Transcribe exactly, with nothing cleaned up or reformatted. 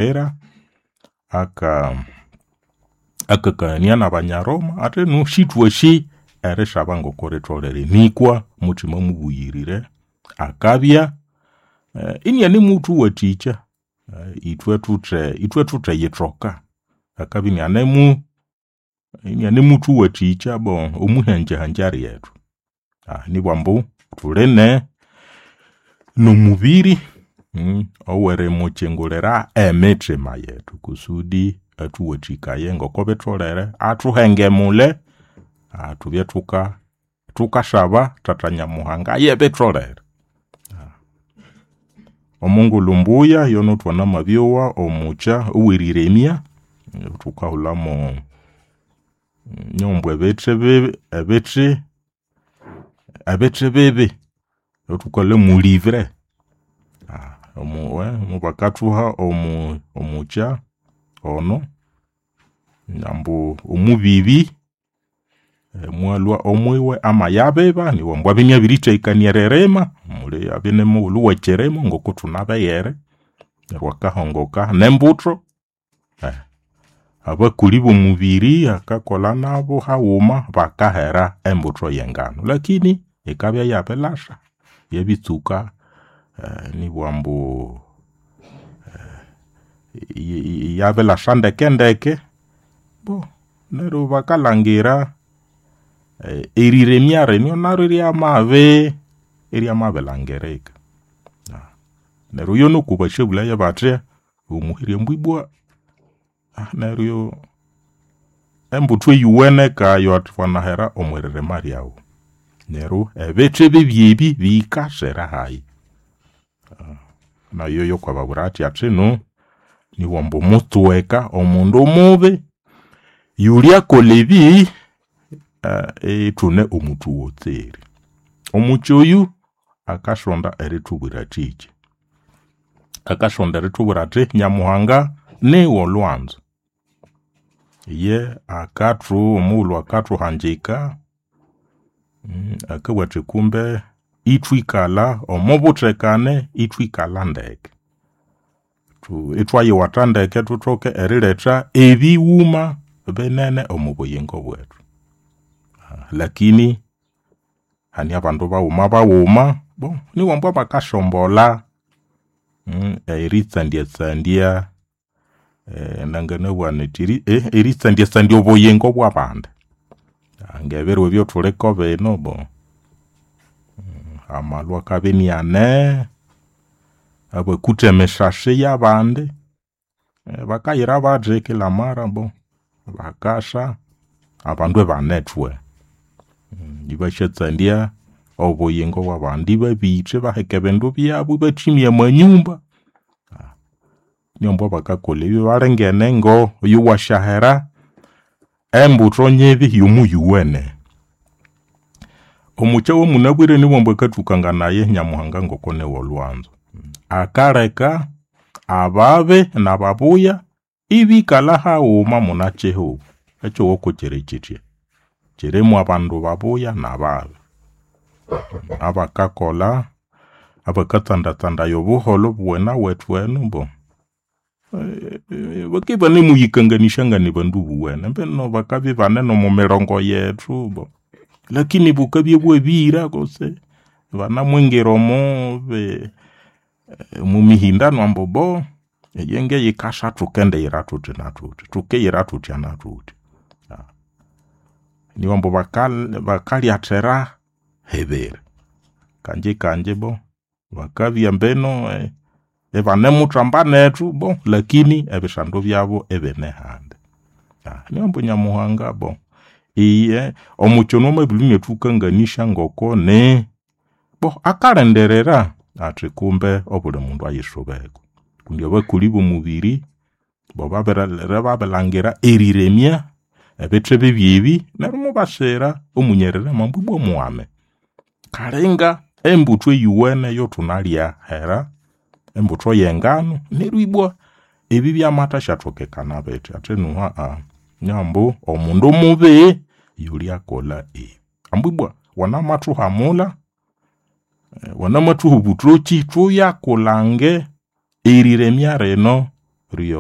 Era aka akakania n'Abanyaroma athi nu sithwasi erisaba ngoko ritholere nikwa Muthima Mubuyirire akabya inianemuthuwathikya ithwe thuthe ithwe thutheyithoka. Akabya inianemu inianemuthuwathikya bon omwihanjahanja ryethu. Nibwambu thuli nomubiri owerimukyingulira emithima yethu kusudi athuwathikaye ngoko bitholere athuhengemule thubye thuka thukasaba Thatha Nyamuhanga yebitholere. Omungulhu mbuya yono thwanamabyowa omukya oweriremya, thukahulhamu nyoho ambu ebithi bibi ebithi ebithi bibi ethukahulha molivre mubakathuha omu omukya ono ambu omubibi mwalhwa omwiwe amayabiba nibwambu abya inabirithekania eririma, muli abya nimughulhu wekyirimo ngokuthunabeghere neryo akahongoka nembutho. Abakoli bomubiri akakolha nabu haghuma bakahera embutho yengano lakini yikabya yabilhasa yabitsuka nibwambu yabilhasa ndekendeke neryo bakalhangira eriremya rino naryo iryamabi iryamabilhangirika. Neryo yonuku basyabulhaya bathi omuhire ambu ibwa neryo embutho eyuwene kayo wanahera omwiririma ryawu. Neryo ebithi bibi ebi biyikasira hayi. Nayo yokwababwira athi athinu nibwambu mutsweka omundu mubi yulyakolha ebi ithune omuthuwotseri. Omukya oyu akasonda erithubwira athiki? Akasonda erithubwira athi Nyamuhanga niwolhwanzo. Iye akathu omughulhu akathuhangika akabugha athi kumbe ithwikalha omobuthekane, ithwikalha ndeke. Ithwayiwatha ndeke thuthoke eriletha ebighuma binene omwa buyingo bwethu. Lakini hane abandu baghumabaguma bon nibwambu abakasombolha eritsandiatsandya nanganabugha nyithi eritsandiatsandya obuyingo bwabandi. Ngebiro ebyathuliko binu bon amalhwa akabya iniane, abakutha emisasi yabandi, bakayira bathi kila mara bon bakasa abandu ibanethwe. Ibasyatsandya obuyingo bwabandi, ibabitha ibaheka ebindu byabu, ibathimya amanyumba. Nibwambu abakakolha ebi balinga enengo iwasyahera embutho nyibi yomuyuwene. Omukya owamunabwire nibwambu akathukanganaya Nyamuhanga ngoko niwolhwanzo. Akaleka ababi nababuya ibikalha haghuma munakyihugho. Ekyihugho kukyiri kyithya, kyirimu abandu babuya nababi. Abakakolha, abakatsandatsandaya obuholho obuwenawethu enu bon bakibya ibanemuyikanganisya nganibandu buwene mbinu bakabya ibane nomwamirongo yethu bon lakini bukabya bwabihira kutse banamwingira omo bi- omomihindano ambu bo eyenge yikasa thukendiyira thuthi na thuthi, thukiyira thuthya na thuthya. Nibwambu baka bakalyathira hibiri kangye kangye bon bakabya mbinu ibanemuthamba nethu bon lakini ebisando byabu ibinehandi. Nibwambu Nyamuhanga bon iye omukya ono amabirulhwa inathukanganisya ngoko ni bon akalindirira athi kumbe obuli mundu ayisubeko kundi abakoli bomubiri bo babiri babirilhangira eriremya ebithi bibi ebi neryo mubasira omunyarirema ambu ibwa mughame. Kalinga embutho eyuwene eyathunalya hera, embutho yengano neryo ibwa ebi byamathasyatokekana bithi athi nuhu nibwambu omundu mubi yulyakolha ebi. Ambu ibwa wanamathuhamulha, wanamathuha obuthoki thuyakulhange eriremya rino. Neryo